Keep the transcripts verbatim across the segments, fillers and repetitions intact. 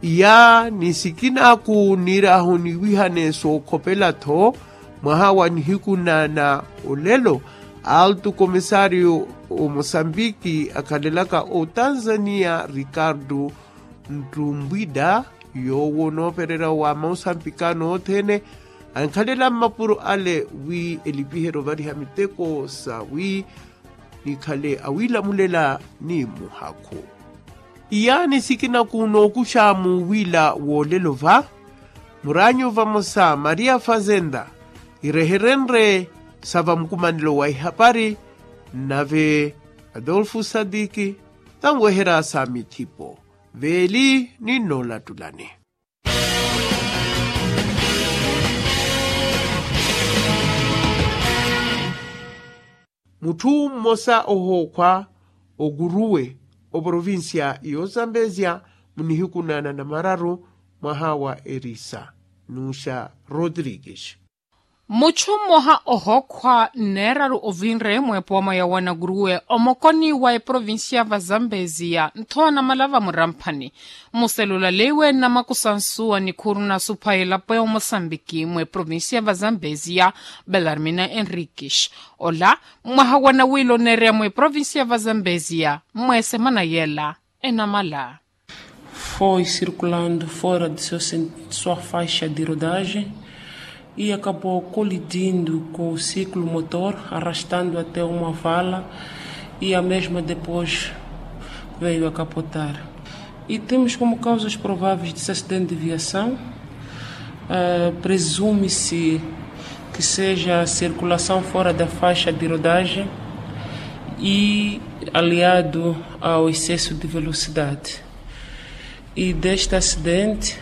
Iya ni sikinaku niir'ahu niwihane sookhopela-tho mwaha wa nihiku na na olelo, altu komisariyo omosambiki akhalelaka otanzaniya rikartu ntumbwida, yoowo onoopererya wa mausambikano othene ankhalela mmapuro ale wi elipiherye ovariha miteko sawi nikhale awiilamulela ni muhakhu. Iyaani sikinaku nookuxa muuwiila woolelo va muraanyu vamosa maria fazenda ireherenrye sa vamukumanelo wa ihapari, nave adolfu sadiki tanweherya sa mithipo veeli ni nnoolattulani. Mutthu mmosa ohookhwa okuruwe oprovincia y'ozambezia munihiku na nanamararu mwaha wa erisa nuxa rodrigues. Mutthu mmoha ohookhwa nneeraru ovinre mweepooma ya wanakuruwe omokoni wa eprovincia va zambezia nthowa namala vamuramphani muselulal'iwe nnamakusa nsuwa nikhuuru nasupha elapo ya omosambiki mweprovincia va zambezia belarmina enriquis. Ola mwaha wa nawiila oneereya mweprovincia va zambezia mmweesemana yela enamala. Foi circulando fora de seu sen- sua faixa de rodagem e acabou colidindo com o ciclo motor, arrastando até uma vala e a mesma depois veio a capotar. E temos como causas prováveis desse acidente de viação, eh, presume-se que seja a circulação fora da faixa de rodagem e aliado ao excesso de velocidade. E deste acidente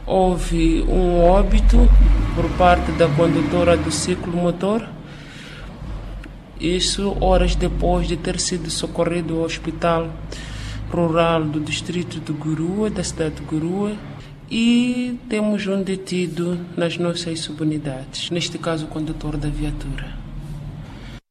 houve um óbito por parte da condutora do ciclomotor. Isso horas depois de ter sido socorrido ao Hospital Rural do Distrito de Gurue, da cidade de Gurue, e temos um detido nas nossas subunidades, neste caso o condutor da viatura.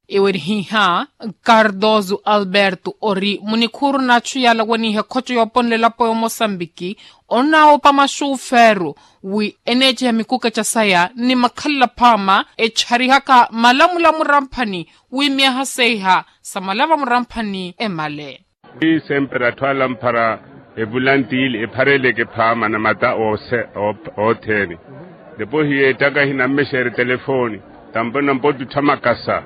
Ewerihihya, cardoso alberto ori munikhuuru n'achu yala waniiha ekhoco yooponela elapo y'omosambiki, onnaawoopa maxuufeeru wi eneeceha mikukeca saya ni makhalela phaama echarihaka malamula muramphani wi myaha seiha samala vamuramphani emale. Wi sempre atthu ala amphara evulantiili ephareleke phaama na mata othene. Depois yeettaka hinammexeerye telefoni tampona mpottutha makasa.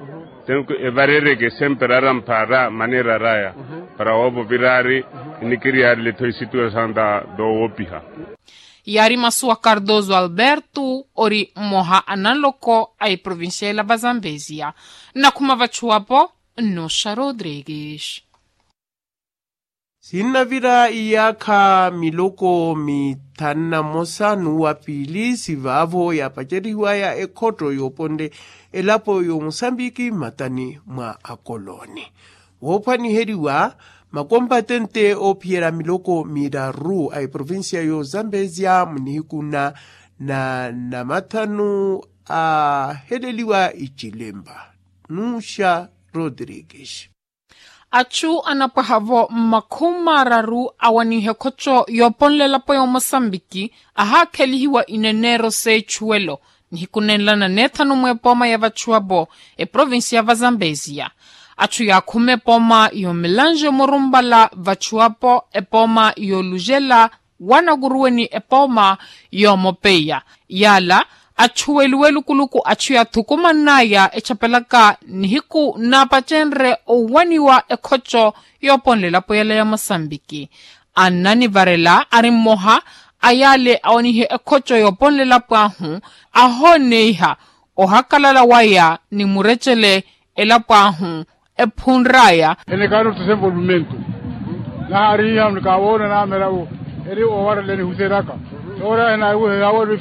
Tenku evarereke sempre arampha ra maneera raya para woovo viraari enikiriyaarile-tho esituasawu nta doowoopiha. Yaari masu wa cardoso alberto ori mmoha a nanloko a eprovincia ela va zambezia. Nnakhuma vachuwapo nnuxa rodrigues. Sinnavira iyaakha miloko mithanu na mmosa n'uwa piili sivaavo yaapacerihiwaya ekhotto yooponle elapo y'omusambiki mmatani mwa akolooni. Woophwaniheriwa makompatente oophiyerya miloko miraru a eprovincia y'ozambezia munihiku na na namathanu aaheleliwa icilemba. Nuxa rodrigues. Achu anapwaha-vo mmakhumi mararu awaniha ekhoco yooponlela elapo y'omosambiki ahaakhelihiwa ineneero s'echuwelo nihiku nenla na neethanu mweepooma ya vachuwapo eprovincia va zambezia. Achu yaakhuma epooma y'omilanjo murumpala vachuwapo epooma y'olujela wanakuruwe ni epooma yoomopeiya. Yaala achuweliwe lukuluku achu yaathukumann'aya echapelaka nihiku naapacenrye owaniwa ekhoco yooponlela elapo yala ya mosambiki. Annanivarela ari mmoha a yaale awanihe ekhoco yooponlela elapo ahu ahooneiha ohakalala waya ni murecele elapo ahu ephunr'aya. Enekaano tusenvolvimento nahaarihiha nikawoona naamela eri owarela enihuseraka. Ora enaawela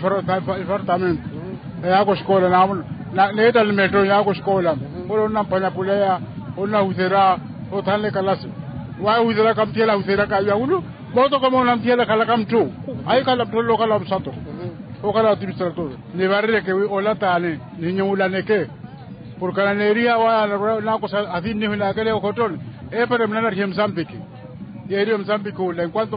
ifartamento eyaaka oxikola naamuna neetta limetro yaaka oxikola. Ora onnamphwanya puleya onnahusera othanle kalasi. Waahuseraka mutthiyela ahuseraka yawulu mootoko moona mutthiyela khalaka mutthu. Ahikhala mutthu olle okhala wa musato okhala wa administrator. Nivarireke wi ola taani nihinyuwulaneke. Porke ananeeriha waya naakosa asinnihu naakele okhottoni eepara munanarihe musambiki. Yeeriwe musambiki ola enquanto